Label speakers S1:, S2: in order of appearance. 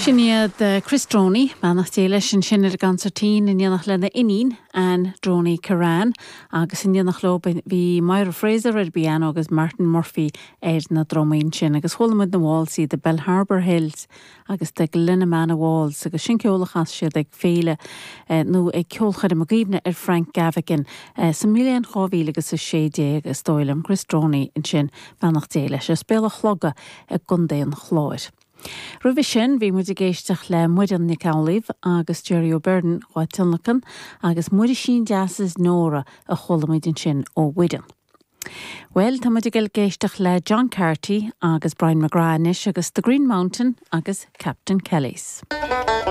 S1: Sin iad Chris Droney, beannacht Dé leis ansin ar an gconsairtín, in éineacht lena iníon, Anne Droney Kirrane, agus in éineacht leo bhí Myra Fraser ar an bpianó agus Martin Murphy ar na drumaí ansin. Agus chuala muid na válsaí, The Bellharbour Hills agus The Glenamana Waltz agus sin ceol a chas siad ag féile nó ag ceolchoirm i gcuimhne ar Frank Gavigan sa mbliain 2016 is dóigh liom. Chris Droney ansin, beannacht Dé leis, as Béal an Chloga i gContae an Chláir. Roimhe sin bhí muid ag éisteacht le Muireann Nic Amhlaoibh agus Jerry O'Beirne dhá tionlacan agus Muirisín Deas is Nóra a chuala muid ansin ó Mhuireann. Bhuel, tá muid ag dul ag éisteacht le John Carty agus Brian McGrath anois agus The Green Mountain agus Captain Kelly's.